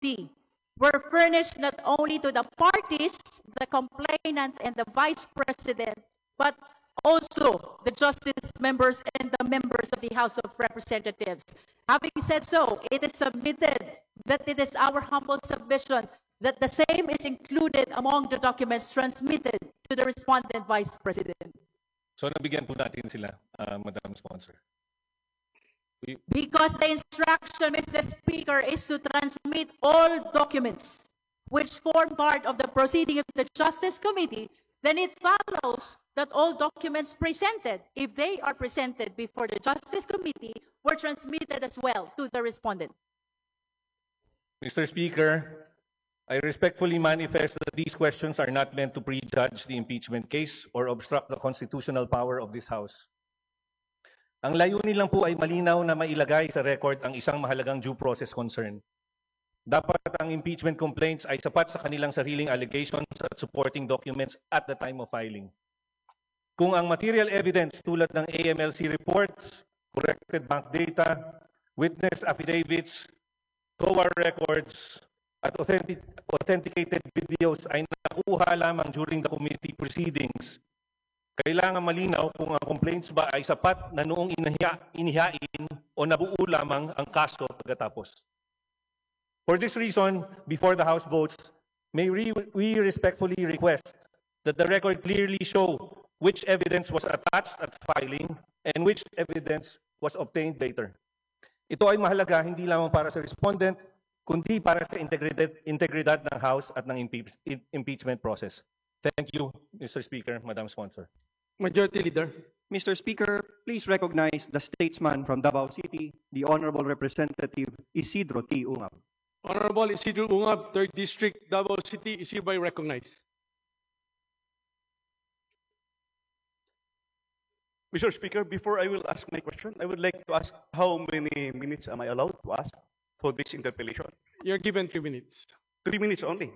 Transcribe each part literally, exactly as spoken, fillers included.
D were furnished not only to the parties, the complainant and the vice president, but also the justice members and the members of the House of Representatives. Having said so, it is submitted that it is our humble submission that the same is included among the documents transmitted to the respondent, Vice President. So, nabigyan po natin sila, ah, Madam Sponsor. We Because the instruction, Mister Speaker, is to transmit all documents which form part of the proceeding of the Justice Committee, then it follows that all documents presented, if they are presented before the Justice Committee, were transmitted as well to the respondent. Mister Speaker, I respectfully manifest that these questions are not meant to prejudge the impeachment case or obstruct the constitutional power of this House. Ang layunin lang po ay malinaw na mailagay sa record ang isang mahalagang due process concern. Dapat ang impeachment complaints ay sapat sa kanilang sariling allegations at supporting documents at the time of filing. Kung ang material evidence tulad ng A M L C reports, corrected bank data, witness affidavits, COA records, at authentic-, authenticated videos ay nakuha lamang during the committee proceedings, kailangan malinaw kung ang complaints ba ay sapat na noong inahiya-, inihain o nabuo lamang ang kaso pagkatapos. For this reason, before the House votes, may re-, we respectfully request that the record clearly show which evidence was attached at filing and which evidence was obtained later. Ito ay mahalaga hindi lamang para sa respondent, kundi para sa integridad, integridad ng House at ng impeach-, im-, impeachment process. Thank you, Mister Speaker, Madam Sponsor. Majority Leader. Mister Speaker, please recognize the statesman from Davao City, the Honorable Representative Isidro T. Ungab. Honorable Isidro Ungab, Third District, Davao City, is hereby recognized. Mister Speaker, before I will ask my question, I would like to ask how many minutes am I allowed to ask for this interpellation? You're given three minutes. Three minutes only.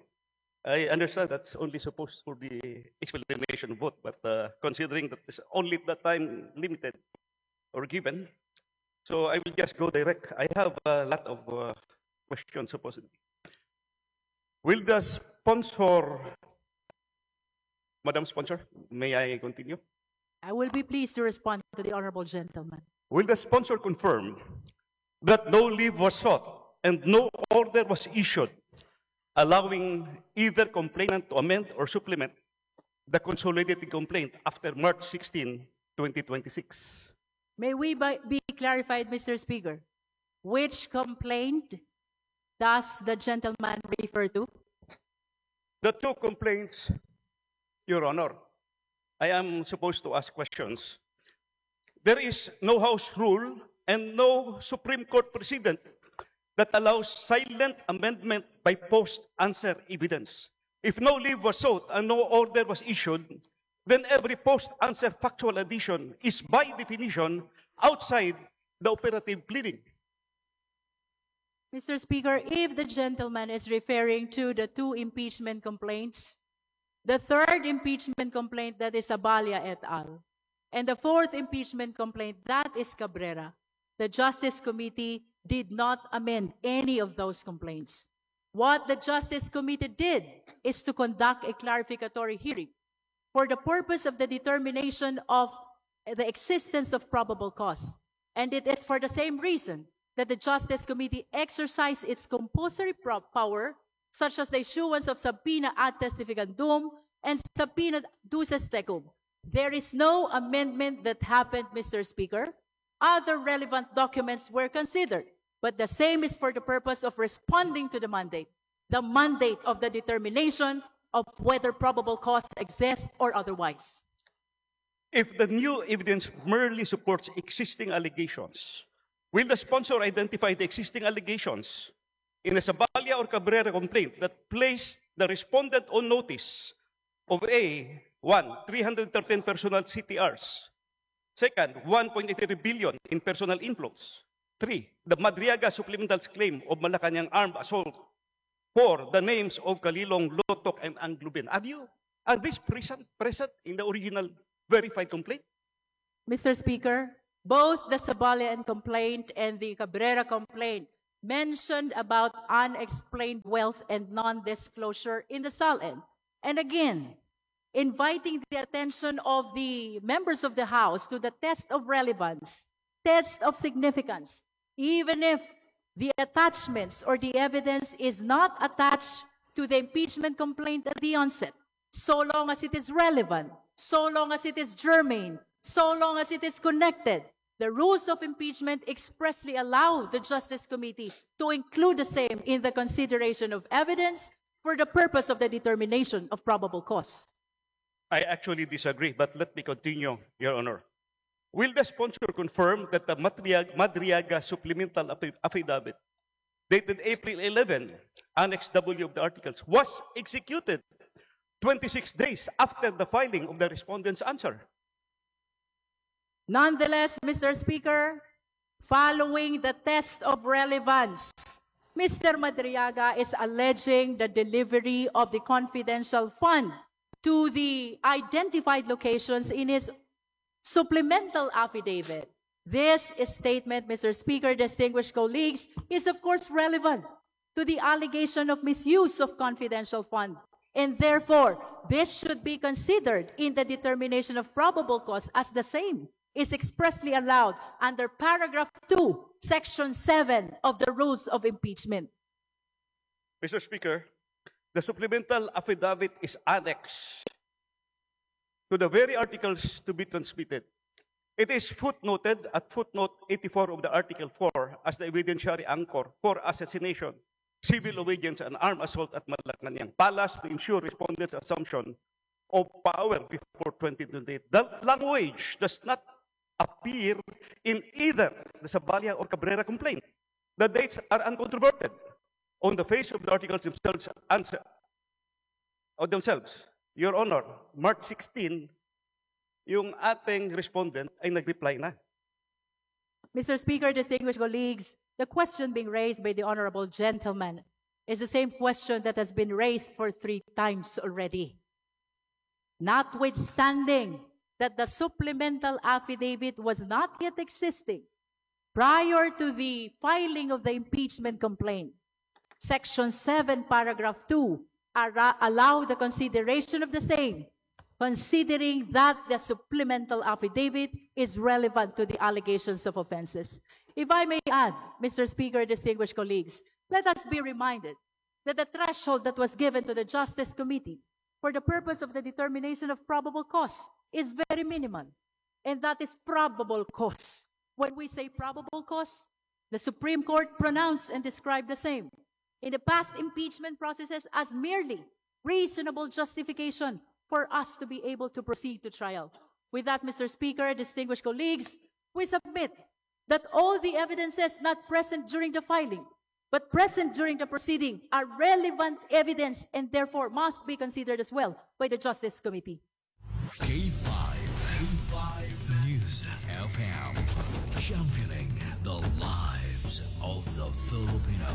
I understand that's only supposed for the explanation vote, but, uh, considering that it's only the time limited or given, so I will just go direct. I have a lot of, uh, questions supposedly. Will the sponsor, Madam Sponsor, may I continue? I will be pleased to respond to the honorable gentleman. Will the sponsor confirm that no leave was sought and no order was issued allowing either complainant to amend or supplement the consolidated complaint after March sixteen, twenty twenty-six? May we bi-, be clarified, Mister Speaker? Which complaint does the gentleman refer to? The two complaints, Your Honor. I am supposed to ask questions. There is no House rule and no Supreme Court precedent that allows silent amendment by post-answer evidence. If no leave was sought and no order was issued, then every post-answer factual addition is by definition outside the operative pleading. Mister Speaker, if the gentleman is referring to the two impeachment complaints, the third impeachment complaint, that is Zabalia et al., and the fourth impeachment complaint, that is Cabrera, the Justice Committee did not amend any of those complaints. What the Justice Committee did is to conduct a clarificatory hearing for the purpose of the determination of the existence of probable cause. And it is for the same reason that the Justice Committee exercised its compulsory pro-, power, such as the issuance of subpoena ad testificandum and subpoena duces tecum. There is no amendment that happened, Mister Speaker. Other relevant documents were considered, but the same is for the purpose of responding to the mandate, the mandate of the determination of whether probable cause exists or otherwise. If the new evidence merely supports existing allegations, will the sponsor identify the existing allegations in the Zabalia or Cabrera complaint that placed the respondent on notice of, A, one, three hundred thirteen personal C T Rs. Second, one point eight three billion in personal inflows. Three, the Madriaga supplemental claim of Malacañang armed assault. Four, the names of Kalilong, Lotok, and Anglubin. Are you, are these present, present in the original verified complaint? Mister Speaker, both the Zabalia complaint and the Cabrera complaint mentioned about unexplained wealth and non-disclosure in the SALN. And again, inviting the attention of the members of the House to the test of relevance, test of significance, even if the attachments or the evidence is not attached to the impeachment complaint at the onset, so long as it is relevant, so long as it is germane, so long as it is connected, the rules of impeachment expressly allow the Justice Committee to include the same in the consideration of evidence for the purpose of the determination of probable cause. I actually disagree, but let me continue, Your Honor. Will the sponsor confirm that the Madriag-, Madriaga supplemental affi-, affidavit dated April eleven, Annex W of the articles, was executed twenty-six days after the filing of the respondent's answer? Nonetheless, Mister Speaker, following the test of relevance, Mister Madriaga is alleging the delivery of the confidential fund to the identified locations in his supplemental affidavit. This statement, Mister Speaker, distinguished colleagues, is of course relevant to the allegation of misuse of confidential fund, and therefore, this should be considered in the determination of probable cause as the same is expressly allowed under paragraph two, section seven of the rules of impeachment. Mister Speaker, the supplemental affidavit is annexed to the very articles to be transmitted. It is footnoted at footnote eighty-four of the Article four as the evidentiary anchor for assassination, civil obedience, and armed assault at Malacañang Palace to ensure respondent's assumption of power before twenty twenty-eight. That language does not appear in either the Zabalia or Cabrera complaint. The dates are uncontroverted on the face of the articles themselves, answer, of themselves. Your Honor, March sixteen, yung ating respondent ay nag-reply na. Mister Speaker, distinguished colleagues, the question being raised by the honorable gentleman is the same question that has been raised for three times already. Notwithstanding that the supplemental affidavit was not yet existing prior to the filing of the impeachment complaint, Section seven, Paragraph two, ara-, allow the consideration of the same, considering that the supplemental affidavit is relevant to the allegations of offenses. If I may add, Mister Speaker, distinguished colleagues, let us be reminded that the threshold that was given to the Justice Committee for the purpose of the determination of probable cause is very minimal, and that is probable cause. When we say probable cause, the Supreme Court pronounced and described the same in the past impeachment processes as merely reasonable justification for us to be able to proceed to trial. With that, Mister Speaker, distinguished colleagues, we submit that all the evidences not present during the filing but present during the proceeding are relevant evidence and therefore must be considered as well by the Justice Committee. K five, K five News F M, championing the lives of the Filipino.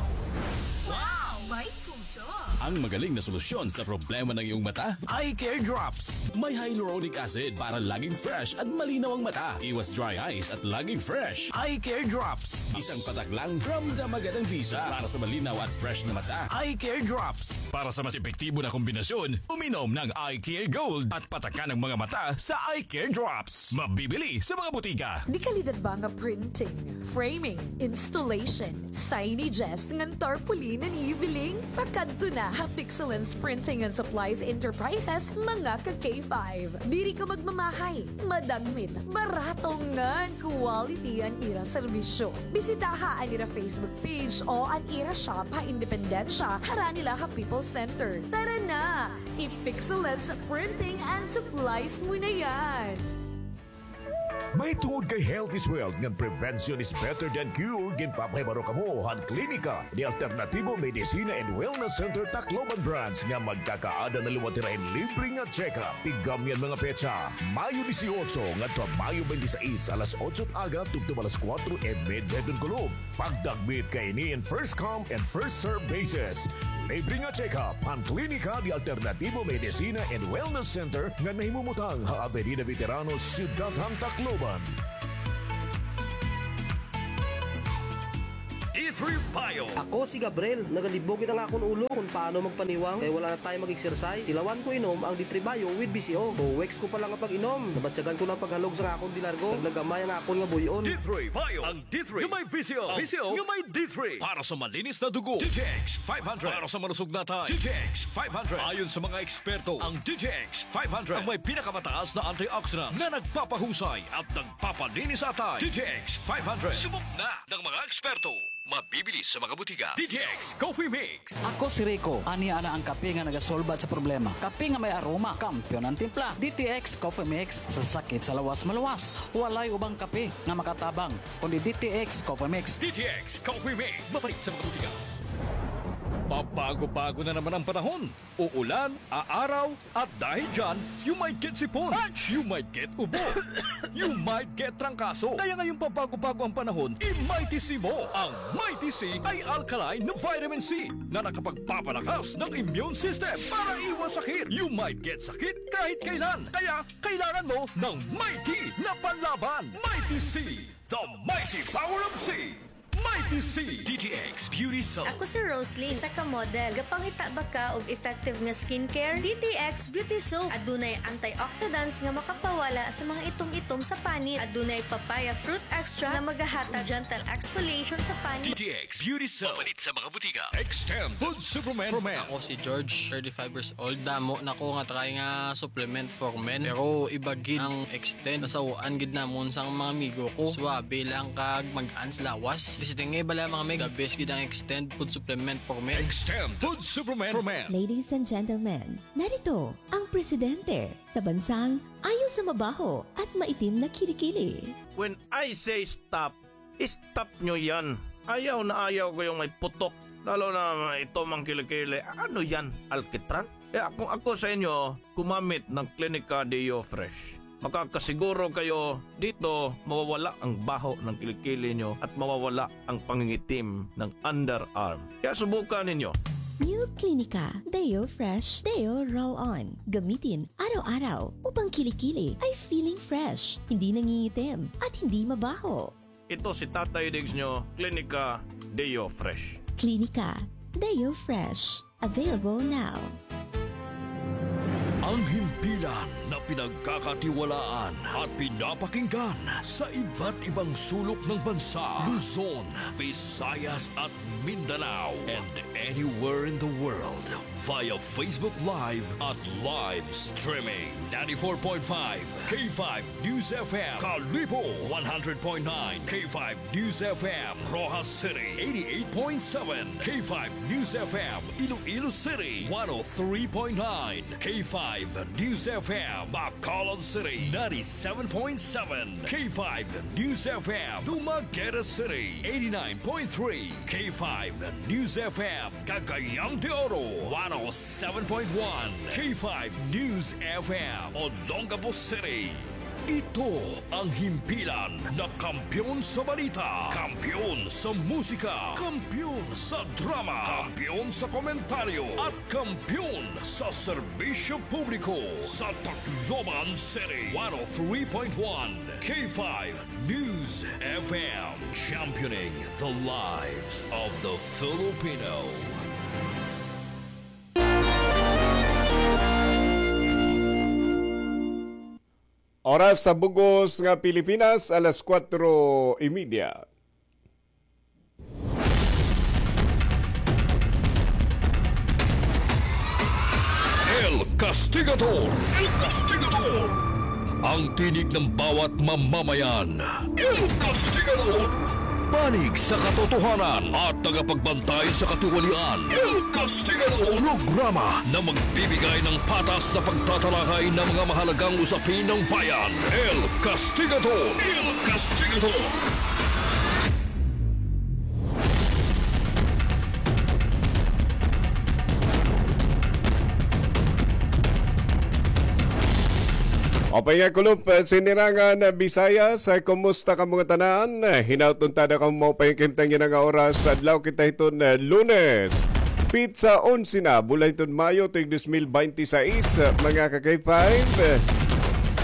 Wow! May puso! Ang magaling na solusyon sa problema ng iyong mata, Eye Care Drops. May hyaluronic acid para laging fresh at malinaw ang mata. Iwas dry eyes at laging fresh. Eye Care Drops. Isang patak lang, ramdam agad ang bisa. Para sa malinaw at fresh na mata, Eye Care Drops. Para sa mas epektibo na kombinasyon, uminom ng Eye Care Gold at patakan ang mga mata sa Eye Care Drops. Mabibili sa mga butika. Dekalidad ba nga printing, framing, installation, signages, ngan tarpaulin an iyo biling? Pakadto na ha Pixelens Printing and Supplies Enterprises, mga ka K five. Diri ka magmamahay, madagmit, barato ngan quality an ira serbisyo. Bisitaha an ira Facebook page o an ira shop ha Independencia, harani la ha People's Center. Tara na! I-Pixelens Printing and Supplies mo na yan! Mahitungod kay health is wealth ngan prevention is better than cure, ginpapahibaro kamo han Klinika de Alternativo Medicina and Wellness Center Tacloban Branch nga magkakaada na liwat hira hin libre nga check-up. Tigam niyan mga petsa, Mayo dieciocho ngadto ha Mayo veintiséis, alas otso aga tubtob alas kuwatro y medya hiton kulop. Pagdagmit kaini in first come and first serve basis. Libre nga check-up han Klinika de Alternativo Medicina and Wellness Center nga nahimumutang ha Avenida Veteranos, Syudad han Tacloban. If Three Bio. Ako si Gabriel, nagalibog gid an akon ulo kon paano magpaniwang kay wala na time mag-exercise. Tilawan ko inom ang D three Bio with B C O. Two weeks ko pa lang nga pag-inom, nabatyagan ko na ang paghalog sa akon de largo. Naglagamay ang akon nga buy-on. D three Bio. Ang D three nga may V C O. V C O nga may D three. Para sa malinis na dugo, D T X five hundred. Para sa malusog na atay, D T X five hundred. Ayon sa mga eksperto, ang D T X five hundred ang may pinakamataas na antioxidants na nagpapahusay at nagpapalinis sa atay. D T X five hundred. Subok na ng mga eksperto. Mabibili sa mga butika. D T X Coffee Mix. Ako si Rico. Ania na ang kape nga nagasolbat sa problema. Kape nga may aroma, kampiyon an timpla. D T X Coffee Mix, sa sakit sa lawas maluwas. Walay ubang kape nga makatabang kundi D T X Coffee Mix. D T X Coffee Mix. Mabalik sa mga butika. Pabago-bago na naman ang panahon. Uulan, aaraw, at dahil dyan, you might get sipon, you might get ubo, you might get trangkaso. Kaya ngayong pabago-bago ang panahon, i-Mighty C mo. Ang Mighty C ay alkaline na vitamin C na nakapagpapalakas ng immune system para iwas sakit. You might get sakit kahit kailan. Kaya kailangan mo ng Mighty na panlaban. Mighty C, the mighty power of C. Mighty C. D T X Beauty Soap. Ako si Rosalie, isa ka model. Gapangita ba ka og effective nga skincare? D T X Beauty Soap. Adunay antioxidants nga makapawala sa mga itom-itom sa panit. Adunay papaya fruit extract nga magahatag gentle exfoliation sa panit. D T X Beauty Soap. Mapalit sa mga butika. Extend Food Supplement for Men. Ako si George, thirty-five years old. Damo na ko nga try nga supplement for men. Pero iba gid ang Extend. Nasaw-an gid namon sa mga amigo ko. Suabe lang kag mag-ans lawas. Basta nga bala mga mig, the best gid ang Extend Food Supplement for Men. Extend Food Supplement for Men. Ladies and gentlemen, narito ang presidente sa bansang ayaw sa mabaho at maitim na kilikili. When I say stop, stop nyo yan. Ayaw na ayaw ko yung may putok. Lalo na ito mang kilikili. Ano yan? Alkitran? Kaya kung ako sa inyo, gumamit ng Clinica Deo Fresh. Makakasiguro kayo dito mawawala ang baho ng kilikili nyo at mawawala ang pangingitim ng underarm. Kaya subukan ninyo. New Clinica Deo Fresh Deo Roll On. Gamitin araw-araw upang kilikili ay feeling fresh, hindi nangingitim, at hindi mabaho. Ito si Tatay Diggs nyo, Clinica Deo Fresh. Clinica Deo Fresh. Available now. Ang himpilan na pinagkakatiwalaan at pinapakinggan sa iba't ibang sulok ng bansa, Luzon, Visayas at Mindanao, and anywhere in the world via Facebook Live at live streaming. Ninety-four point five K five News F M, Kalibo, one hundred point nine K five News F M, Roxas City, eighty-eight point seven K five News F M, Iloilo City, one oh three point nine K five News F M, Bacolod City, ninety-seven point seven K five News F M, Dumaguete City, eighty-nine point three K five News F M, Cagayan de Oro, one oh seven point one K five News F M, Olongapo City. Ito ang himpilan na kampiyon sa balita, kampiyon sa musika, kampiyon sa drama, kampiyon sa komentaryo, at kampiyon sa serbisyo publiko sa Tacloban City. One oh three point one K five News F M, championing the lives of the Filipino. Oras sa bug-os nga Pilipinas, alas kuwatro y media. El Castigador. El Castigador. Ang tinig ng bawat mamamayan. El Castigador. Panig sa katotohanan at tagapagbantay sa katiwalian. El Castigador. Programa na magbibigay ng patas na pagtatalakay ng mga mahalagang usapin ng bayan. El Castigador. El Castigador. Upay nga kulop, eh, sinirangan, eh, Bisayas, eh, kumusta kamo ngatanan? Eh, hinaot unta na kamo maupay nga kahimtang yana nga oras. Adlaw kita hiton, eh, Lunes. Petsa onse na, bulan hiton Mayo, tuig dos mil binte y seis, eh, mga ka-K five. Eh,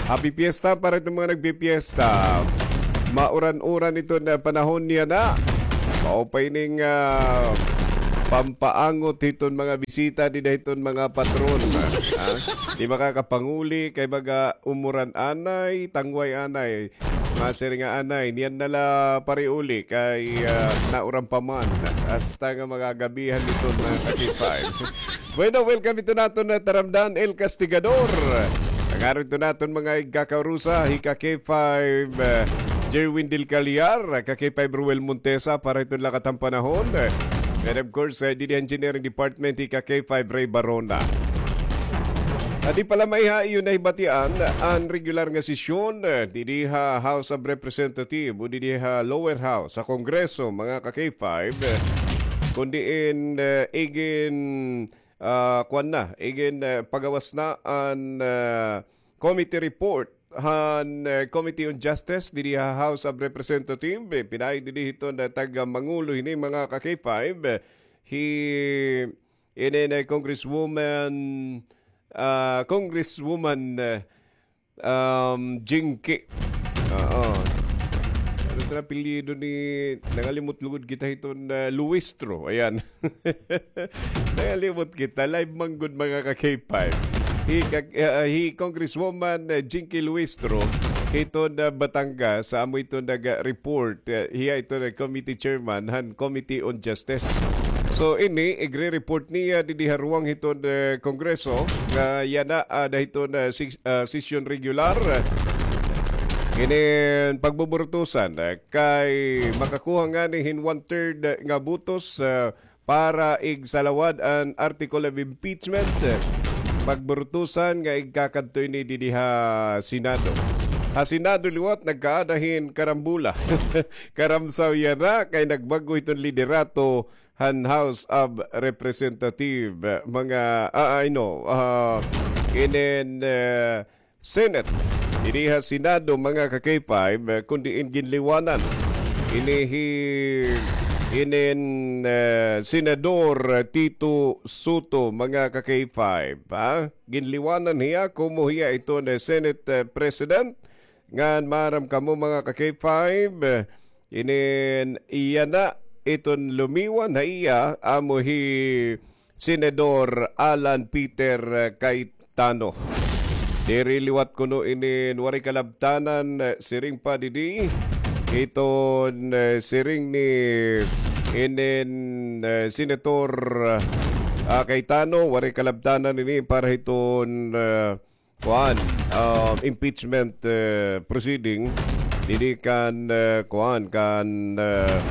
happy fiesta para hiton mga nagpipiesta. Mauran-uran iton, eh, panahon yana. Maupay ning, ah, pampaangot hiton mga bisita dida hiton mga patron. Ha? Di makakapanguli kay baga umuran anay, tangway anay. Masiring nga anay, niyan na la pariuli kay, ah, nauran pa man. Hasta nga magagabihan hiton mga ka-K five. Bueno, welcome hiton aton nga taramdan, El Castigador. Ngaran hiton aton mga igkakaurusa, hi ka-K five, eh, Jerwin Del Callar, ka-K five Ruel Montesa, para hiton lakat han panahon. And of course, eh, didi ha Engineering Department, hi ka-K five Ray Barona. Adi pa la, maiha iyo nahibatian an regular nga sesyon, eh, didi ha House of Representative o didi ha Lower House sa Kongreso, mga ka-K five, eh, kun diin, eh, igin ah, kuan na, igin, eh, pagawas na an, eh, committee report han, eh, Committee on Justice didi ha House of Representative. Eh, pinaay didi hiton, eh, taga-mangulo hini, mga ka-K five, eh, hi, inin, eh, Congresswoman, ah, Congresswoman, eh, Um, Jinky. Oo. Ano ito na apelyido ni, nangalimot lugod kita hiton, ah, Luistro. Ayan. Nangalimot kita. Live man gud, mga ka-K five. Hi, ka-, ah, hi Congresswoman, ah, Jinky Luistro, hiton, ah, Batangas, sa amo ito nag-report. Ah, hiya ito na committee chairman han Committee on Justice. So, ini, igre-report niya didi ha ruwang hiton, eh, Kongreso, nga yana, ah, ada hiton, eh, sis-, ah, sesyon regular. Kinin pagbuburutusan, eh, kay makakuha ngani hin one-third nga botos, eh, para igsalawad an article of impeachment. Pagburutusan nga igkakadto ini didi ha Senado. Ha Senado liwat nagkaada hin karambula. Karamsaw yana kay nagbag-o hiton liderato han House of Representative, mga, ah, I know, ah, inin, eh, Senate. Didi ha Senado, mga ka-K five, eh, kun diin ginliwanan ini hi, inin, eh, Senador Tito Sotto, mga ka-K five, ha? Ginliwanan hiya, komo hiya iton, eh, Senate, eh, President. Ngan maaram kamo, mga ka-K five, eh, inin yana iton lumiwan ha iya, amo hi Senador Alan Peter, eh, Cayetano. Diri liwat kuno inin waray kalabtanan, eh, siring pa didi. Iton, eh, siring ni inin, eh, Senator, ah, Cayetano, waray kalabtanan ini para hiton, eh, kuan, ah, impeachment, eh, proceeding didi kan, eh, kuan, kan, eh,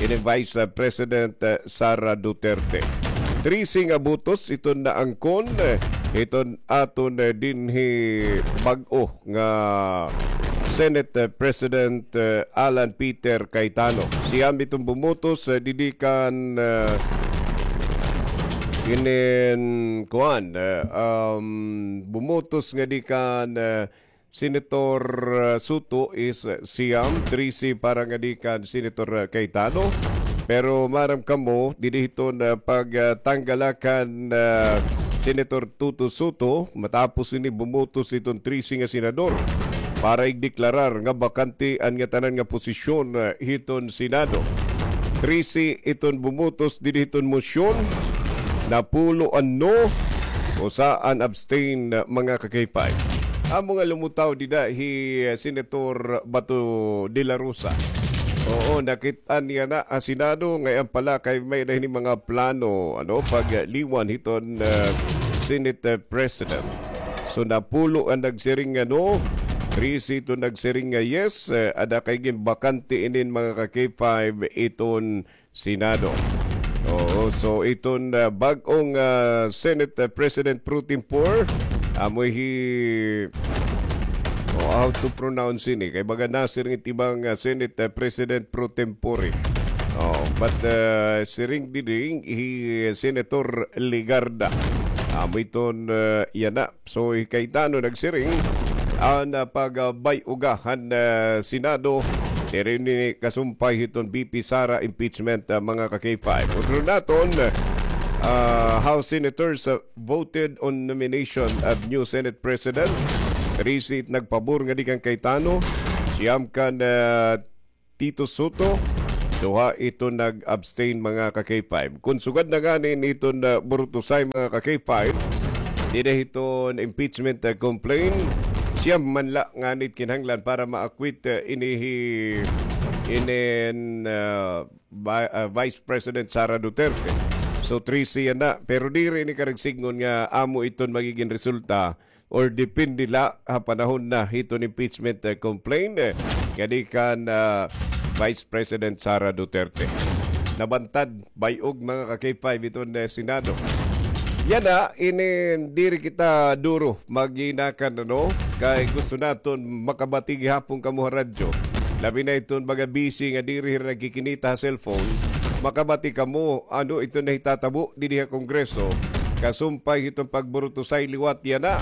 ini Vice President, eh, Sara Duterte. Trese nga botos iton naangkon, eh, iton aton, eh, dinhi bag-o nga Senate, eh, President, eh, Alan Peter Cayetano. Siyam iton bumotos, eh, didi kan, eh, inin kuan, eh, um, bumotos ngadi kan, eh, Senator, eh, Sotto is, eh, siyam, trese para ngadi kan Senator, eh, Cayetano. Pero maaram kamo, didi hiton, eh, pagtanggala kan, eh, Senator Tito Sotto, matapos ini bumotos iton trese nga senador para igdeklarar nga bakante an ngatanan nga posisyon, eh, hiton Senado. Trese iton bumotos didi hiton mosyon, napulo an no, usa an abstain, mga ka-K five. Amo nga lumutaw dida hi, eh, Senator Bato de la Rosa. Oo, nakit-an niya na ha Senado, ngay-an pala kay may-ada hini mga plano, ano, pagliwan hiton, eh, Senate, eh, President. So, napulo an nagsiring nga no, trese iton nagsiring nga yes, eh, ada kay ginbakante inin mga ka-K five iton Senado. Oo, so iton, ah, bag-ong, ah, Senate, ah, President pro tempore, amo hi, oh, how to pronounce ini? Kay baga nasiring it iba nga Senate, ah, President pro tempore. Oh, but, ah, siring didi hi Senator Legarda. Amo iton, ah, yana. So, hi Cayetano nagsiring, an, ah, pagbay-uga han, ah, Senado, diri ini kasumpay hiton V P Sara impeachment, ah, mga ka-K five. Utro naton, ah, House senators, ah, voted on nomination of new Senate President. Trese it nagpabor ngadi kan Cayetano, siyam kan, ah, Tito Sotto, Duha iton nag-abstain, mga ka-K five. Kon sugad na ngani iton, ah, Burutosay, mga ka-K five, dinhi hiton impeachment, ah, complaint, siyam man la ngani it kinahanglan para ma-acquit, ah, ini hi, inin, ah, Vi-, ah, Vice President Sara Duterte. So, trese yana. Pero diri ini karuyag sidngon nga amo iton magigin resulta or depende la ha panahon na hiton impeachment, eh, complaint, eh, nga di kan, ah, Vice President Sara Duterte. Nabantad, bay-og, mga ka-K five, iton, eh, Senado. Yana, ini, diri kita duro maginakan, ano? Kay gusto naton makabati gihapon kamo ha radyo. Labi na iton mga busy nga diri hira nagkikinita ha cellphone. Makabati kamo, ano iton nahitatabo dinhi ha Kongreso, kasumpay hiton pagburutosay liwat yana.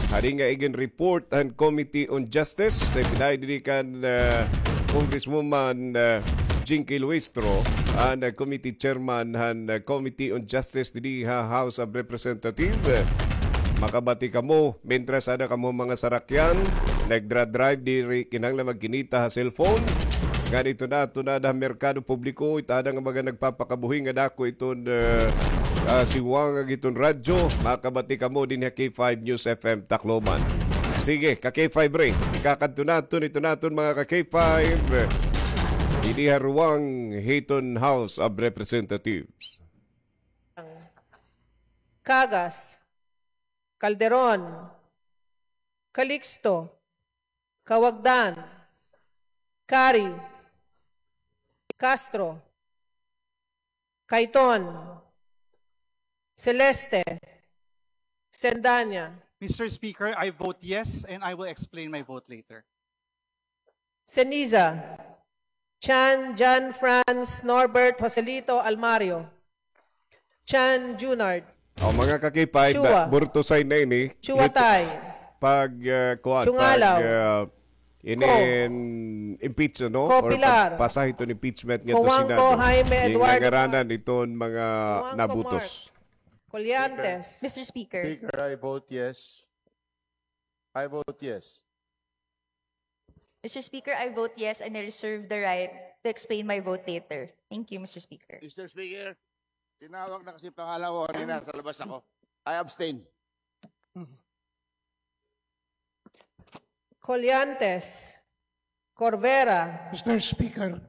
Hadi nga igin-report han Committee on Justice, eh, pinaay dinhi kan, ah, Congresswoman, ah, Jinky Luistro, an, ah, committee chairman han, ah, Committee on Justice dinhi ha House of Representatives. Makabati kamo, mientras ada kamo mga sarakyan, nagdra-drive, diri kinahanglan magkinita ha cellphone. Ngan iton, iton ada ha merkado publiko, iton ada nga mga nagpapakabuhi nga dako iton, eh, ah, siwangag iton radyo, makabati kamo dinhi ha K five News F M Tacloban. Sige, ka-K five Ray, ikakadto naton iton aton mga ka-K five, dinhi ha ruwang hiton House of Representatives. Cagas, Calderon, Calixto, Cauagdan, Cari, Castro, Cayton, Celeste, Sendanya. Mister Speaker, I vote yes, and I will explain my vote later. Ceniza, Chan, John Franz, Norbert, Joselito, Almario, Chan, Junard. O, mga ka-K five, Chua. Burtosay na ini. Chua Tay. Pag, ah, kuwan, Chungalaw. Pag, ah, inin-, impeach, no? Ko Or Pilar. Pagpasa hiton impeachment ngadto Senado. Ko Juanco Jaime Eduardo. Ngangaranan iton mga Juanco nabutos. Mark. Colliantes. Mister Speaker. Speaker, I vote yes. I vote yes. Mister Speaker, I vote yes and I reserve the right to explain my vote later. Thank you, Mister Speaker. Mister Speaker, tinawag na kasi pangalan ko kanina, sa labas ako. I abstain. Colliantes, Corvera. Mister Speaker,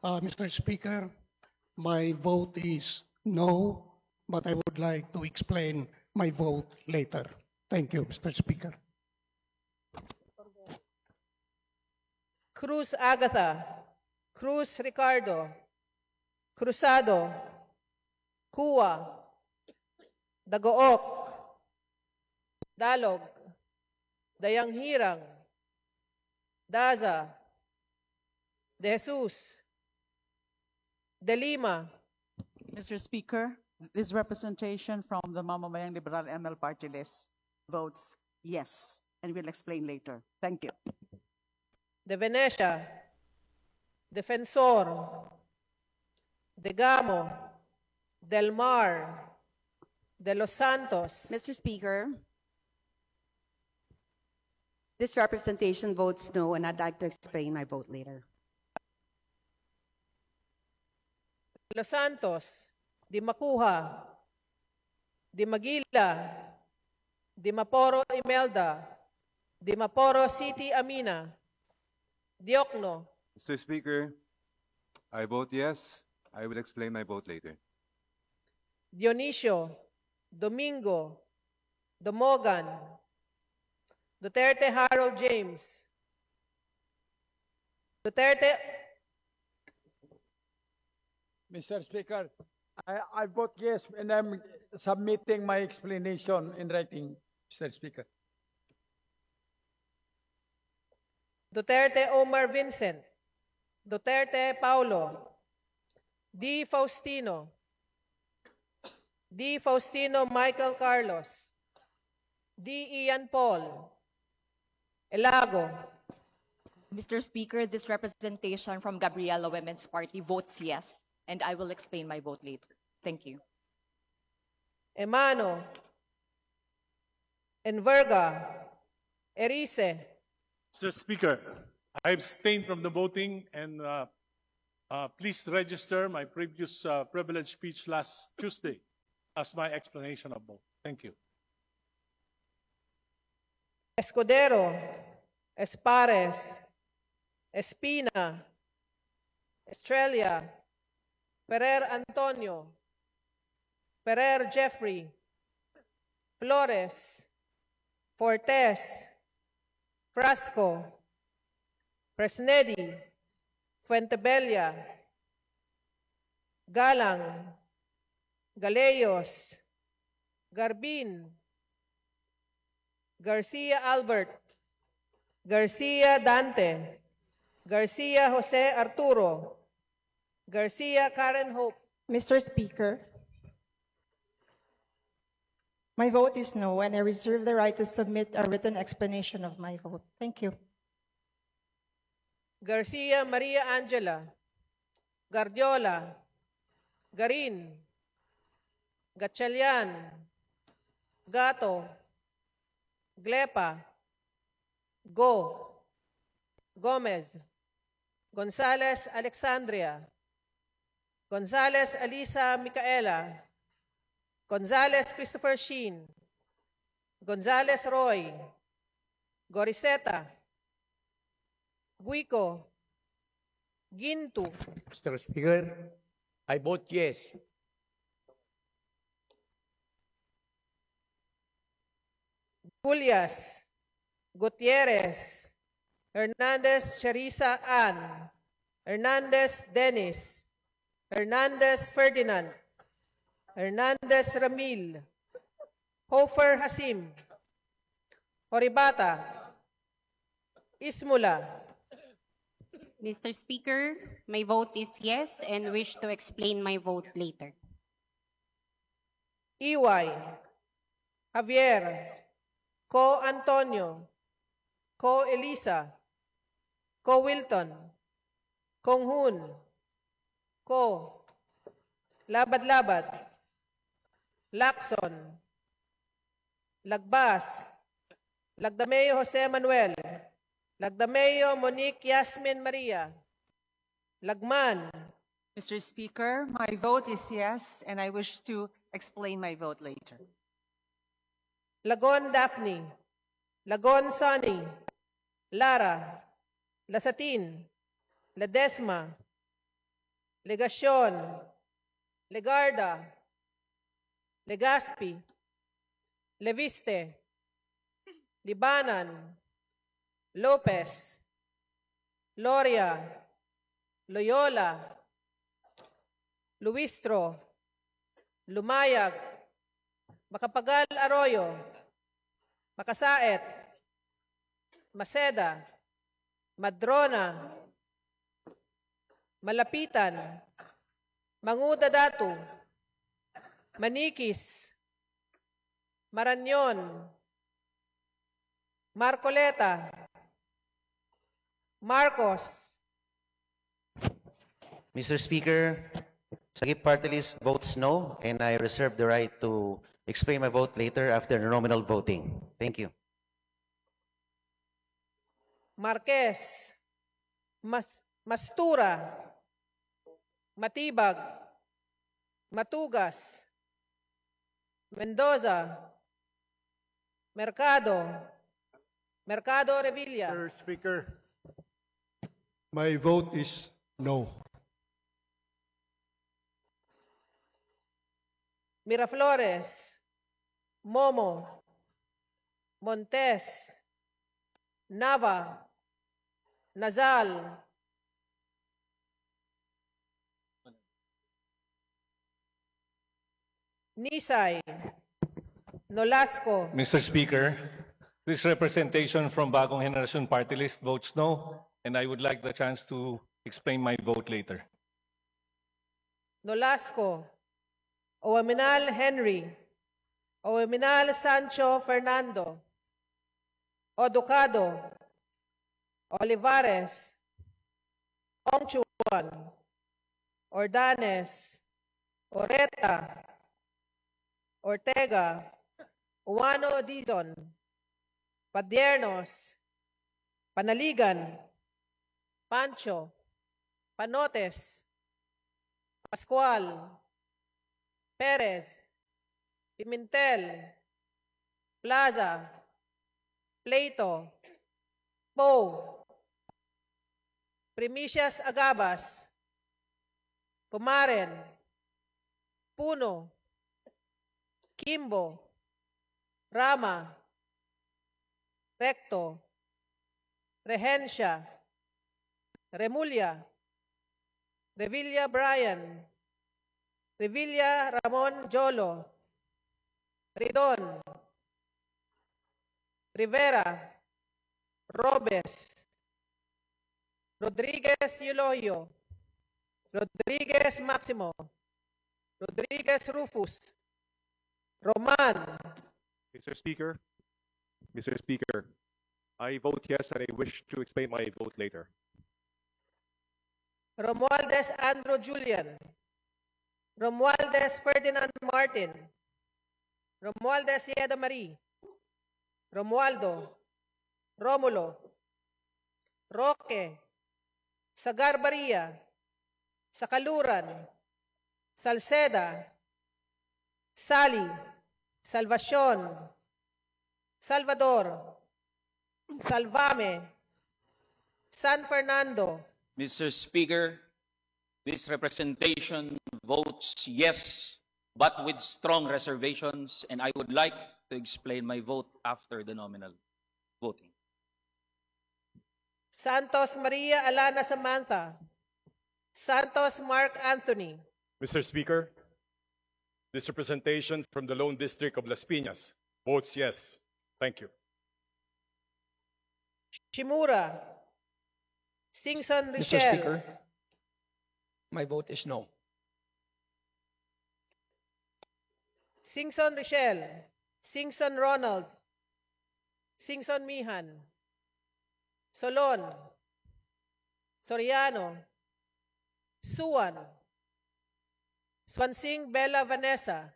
uh, Mister Speaker, my vote is no, but I would like to explain my vote later. Thank you, Mister Speaker. Cruz Agatha, Cruz Ricardo, Cruzado, Cua, Dagook, Dalog, Dayanghirang, Daza, De Jesus, De Lima. Mister Speaker, this representation from the Mamamayang Liberal M L Party List votes yes, and will explain later. Thank you. De Venecia, Defensor, De Gamo, Del Mar, De Los Santos. Mister Speaker, this representation votes no, and I'd like to explain my vote later. De Los Santos, De Macuja, De Maguila, De Maporo Imelda, De Maporo City Amina, Diokno. Mister Speaker, I vote yes. I will explain my vote later. Dionisio, Domingo, Domogan, Duterte Harold James, Duterte. Mister Speaker, I, I vote yes, and I'm submitting my explanation in writing, Mister Speaker. Duterte Omar Vincent, Duterte Paulo, D Faustino, D Faustino Michael Carlos, D Ian Paul, Elago. Mister Speaker, this representation from Gabriela Women's Party votes yes, and I will explain my vote later. Thank you. Emano, Enverga, Erice. Mister Speaker, I abstain from the voting, and uh, uh, please register my previous uh, privilege speech last Tuesday as my explanation of vote. Thank you. Escudero, Espares, Espina, Estrella, Ferrer Antonio, Ferrer Jeffrey, Flores, Fortes, Frasco, Fresnedi, Fuentebella, Galang, Galeos, Garbin, Garcia Albert, Garcia Dante, Garcia Jose Arturo, Garcia Karen Hope. Mister Speaker, my vote is no, and I reserve the right to submit a written explanation of my vote. Thank you. Garcia Maria Angela, Gardiola, Garin, Gatchalian, Gato, Glepa, Go, Gomez, Gonzales Alexandria, Gonzales Alisa Micaela, Gonzales Christopher Sheen, Gonzales Roy, Goriseta, Guico, Ginto, Mister Speaker, I vote yes. Gullas, Gutierrez, Hernandez Cherisa Ann, Hernandez Dennis, Hernandez Ferdinand, Hernandez Ramil, Hofer Hasim, Horibata, Ismula. Mister Speaker, my vote is yes and wish to explain my vote later. Iway, Javier, Ko Antonio, Ko Elisa, Ko Wilton, Kong Hun, Ko, Labad-Labad, Lacson, Lagbas, Lagdameo Jose Manuel, Lagdameo Monique Yasmin Maria, Lagman, Mister Speaker, my vote is yes, and I wish to explain my vote later. Lagon Daphne, Lagon Sonny, Lara, Lasatin, Ledesma, Legacion, Legarda, Legazpi, Leviste, Libanan, Lopez, Loria, Loyola, Luistro, Lumayag, Macapagal Arroyo, Macasaet, Maceda, Madrona, Malapitan, Manguda Datu, Maniquis, Marañon, Marcoleta, Marcos. Mister Speaker, Sagip Party List votes no, and I reserve the right to explain my vote later after the nominal voting. Thank you. Marquez, Mas Mastura, Matibag, Matugas, Mendoza, Mercado, Mercado Revilla. Mister Speaker, my vote is no. Miraflores, Momo, Montes, Nava, Nazal, Nisay, Nolasco. Mister Speaker, this representation from Bagong Henerasyon Party List votes no, and I would like the chance to explain my vote later. Nolasco, Owaminal Henry, Owaminal Sancho Fernando, Oducado, Olivares, Ongchuan, Ordanes, Oreta, Ortega, Uwano Dizon, Padiernos, Panaligan, Pancho, Panotes, Pascual, Perez, Pimentel, Plaza, Plato, Poe, Primicias Agabas, Pumaren, Puno, Kimbo, Rama, Recto, Regencia, Remulla, Revilla Brian, Revilla Ramon Jolo, Ridon, Rivera, Robes, Rodriguez Eulogio, Rodriguez Maximo, Rodriguez Rufus, Roman. Mister Speaker, Mister Speaker, I vote yes and I wish to explain my vote later. Romualdez Andrew Julian, Romualdez Ferdinand Martin, Romualdez Yeda Marie, Romualdo, Romulo, Roque, Sagar Baria, Sacaluran, Salceda, Sally, Salvacion, Salvador, Salvame, San Fernando. Mister Speaker, this representation votes yes, but with strong reservations, and I would like to explain my vote after the nominal voting. Santos Maria Alana Samantha, Santos Mark Anthony. Mister Speaker, this representation from the Lone District of Las Piñas votes yes. Thank you. Shimura, Singson Mister Richel. Speaker, my vote is no. Singson Richel, Singson Ronald, Singson Mihan, Solon, Soriano, Suan, Suansing Bella Vanessa,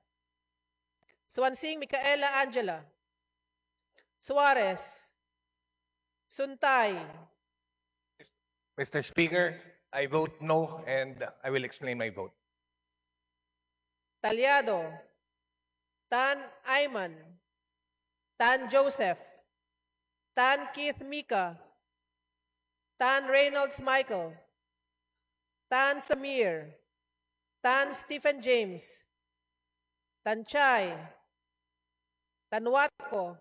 Suansing Micaela Angela, Suarez, Suntay. Mister Speaker, I vote no, and I will explain my vote. Talyado, Tan Ayman, Tan Joseph, Tan Keith Mika, Tan Reynolds Michael, Tan Samir, Tan Stephen James, Tan Chay, Tan Watco,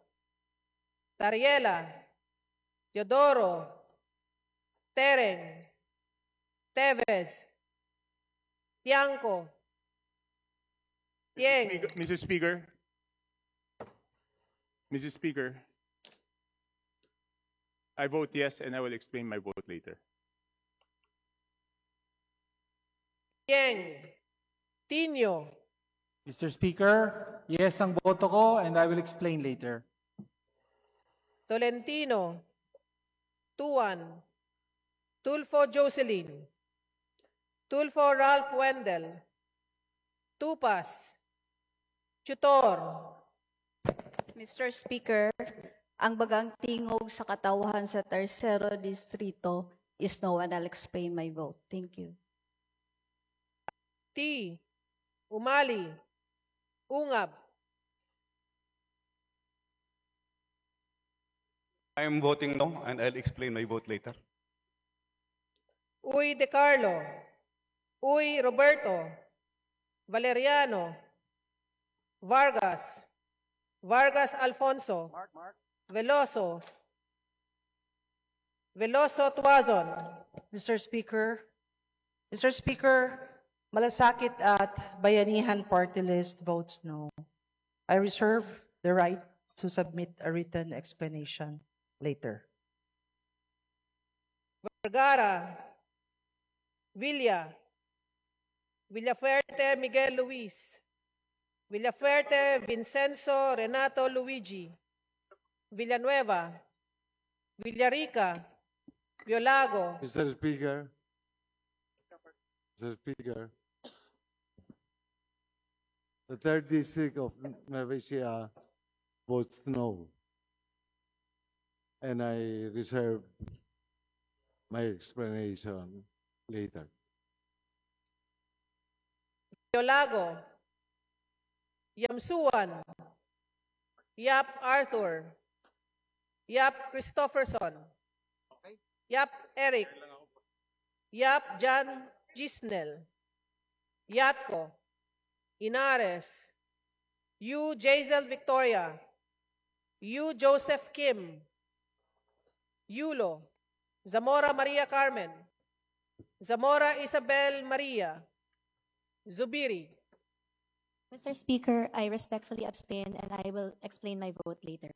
Tariela, Teodoro, Tereng, Teves, Tiangco, Tieng. Mister Speaker, Mister Speaker, Mister Speaker, I vote yes, and I will explain my vote later. Tieng, Tinio. Mister Speaker, yes ang boto ko, and I will explain later. Tolentino, Tuan, Tulfo Jocelyn, Tulfo Ralph Wendell, Tupas, Tutor. Mister Speaker, ang bagang tingog sa katawhan sa Tersero Distrito is no, and I'll explain my vote. Thank you. Ti, Umali, Ungab. I am voting no, and I'll explain my vote later. Uy De Carlo, Uy Roberto, Valeriano, Vargas, Vargas Alfonso, Veloso, Veloso Tuazon. Mister Speaker, Mister Speaker, Malasakit at Bayanihan Party List votes no. I reserve the right to submit a written explanation later. Vergara, Villa, Villafuerte Miguel Luis, Villafuerte Vincenzo Renato Luigi, Villanueva, Villarica, Violago. Mister Speaker, Mister Speaker, the third district of Nueva Ecija votes no. And I reserve my explanation later. Yolago, Yamsuan, Yap Arthur, Yap Christopherson, Yap Eric, Yap John Gisnel, Yatco, Inares, Yu Jazel Victoria, Yu Joseph Kim, Yulo, Zamora Maria Carmen, Zamora Isabel Maria, Zubiri. Mister Speaker, I respectfully abstain and I will explain my vote later.